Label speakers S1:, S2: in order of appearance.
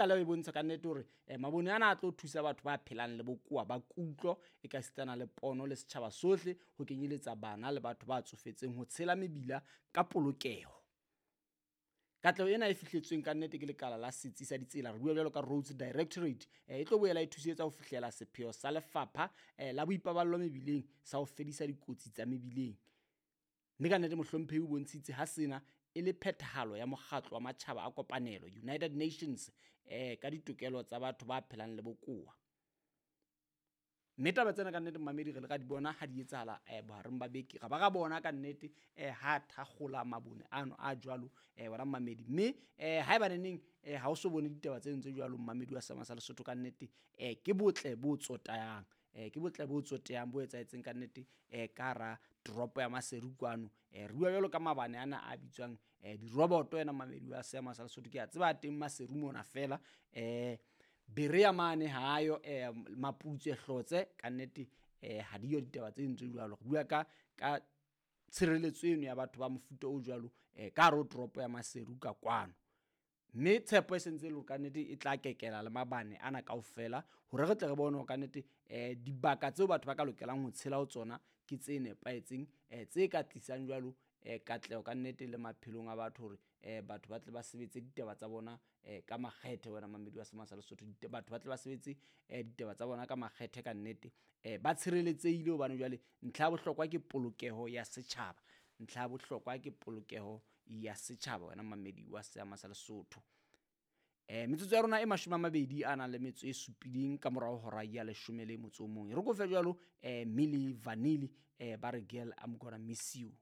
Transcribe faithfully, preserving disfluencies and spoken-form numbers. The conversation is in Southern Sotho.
S1: Tlaleho e bontsha ka nnete hore eh, mabone ana a tlo thusa batho ba phelang le bokowa ba kutlo e ka sitana le pono le setjhaba sohle, ho kenyeletsa bana le batho ba tsofetseng ho tshela mebila ka polokeho. Katleho ena e fihletsweng ka nnete ke lekala la setsi sa ditsela, re bua jwalo ka Roads Directorate, eh, e tlo boela e thusetsa ho fihlela sepheo sa lefapha eh, la boipaballo mebileng sa ho fedisa dikotsi tsa mebileng. Mme ka nnete mohlomphehi o bontshitse ha sena e le phethahalo ya mokgatlo wa matjhaba a kopanelo, United Nations, eh, ka ditokelo tsa batho ba phelang le bokowa. Mme taba tsena ka nnete mmamedi re le ra di bona ha di etsahala eh, bohareng ba beke, ra ba ra bona ka nnete eh, ha thakgola mabone ano a jwalo eh, wena mmamedi. Mme eh, haeba neneng eh, ha o so bone ditaba tseno tse jwalo mmamedi wa Seema sa Lesotho, ka nnete eh, ke botle bo tsotehang, eh, ke botle bo tsotehang bo etsahetseng ka nnete eh, ka hara toropo ya Maseru kwano. Eh, re bua jwalo ka mabane ana a bitswang eh, diroboto. Wena mmamedi wa Seema sa Lesotho, ke a tseba teng Maseru mona fela eh, Berea mane hayo eh, Maputswe Hlotse ka nnete eh, ha diyo ditaba tse ntse jwalo. Re bua ka ka tshireletso eno ya batho ba mofuta o jwalo eh, ka hare ho toropo ya Maseru ka kwano. Mme tshepo e sentse e le hore ka nnete e tla kekela le mabane ana kaofela hore re tle re bone hore ka nnete eh, dibaka tseo batho ba ka lokelang ho tshela ho tsona ke tse nepahetseng, eh, tse ka tlisang jwalo eh, katleho ka nnete le maphelong a batho hore eh, batho ba tle ba sebetse ditaba tsa bona eh, ka makgethe. Wena mamedi wa Seema sa Lesotho, batho ba tle ba sebetse eh, ditaba tsa bona ka makgethe ka nnete, eh, ba tshireletsehile hobane jwale ntlha ya bohlokwa ke polokeho ya setjhaba. Ntlha ya bohlokwa ke polokeho ya setjhaba, wena mamedi wa Seema sa Lesotho. Eh, metsotso ya rona e mashome a mabedi a nang le metso e supileng ka morao hora ya leshome le motso o mong. E re ko fe jwalo eh, Milli Vanilli eh, ba re Girl, I'm Gonna Miss You.